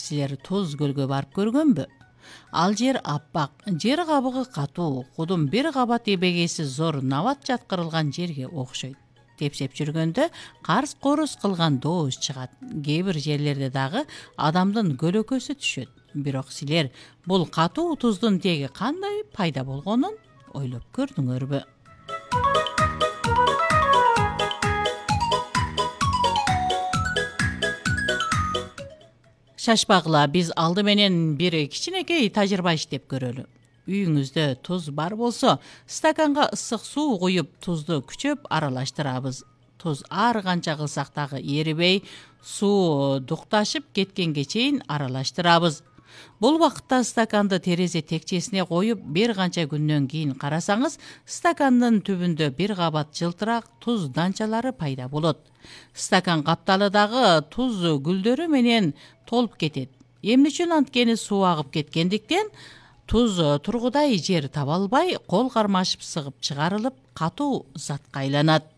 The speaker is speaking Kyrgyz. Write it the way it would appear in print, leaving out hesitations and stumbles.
Силер Туз көлгө барып көргөнбү? Ал жер аппак, жер кабыгы катуу, кудум бир кабат эбегеси зор набат жаткырылган жерге окшойт. Тепсеп жүргөндө карс-корус кылган дооз чыгат. Кээ бир жерлерде дагы адамдын көлөкөсү түшөт. Бирок силер бул катуу туздун теги кандай пайда болгонун ойлоп көрдүңөрбү? Шашпагыла, биз алды менен бир кичинекей тажрыйба иштеп көрөлү. Үйүңүздө туз бар болсо, стаканга ысык суу куюп, тузду күчөп аралаштырабыз. Туз ар канча кылсак дагы эрибей, суу дукташып кеткенге чейин аралаштырабыз. Бул убакытта стаканды терезе текчесине коюп, бир канча күндөн кийин карасаңыз, стакандын түбүндө бир кабат жылтырак туз данчалары пайда болот. Стакан капталы дагы туз гүлдөрү менен толуп кетет. Эмне үчүн анткени суу агып кеткендиктен туз тургудай жер таба албай, кол кармашып сыгып чыгарылып, катуу затка айланат.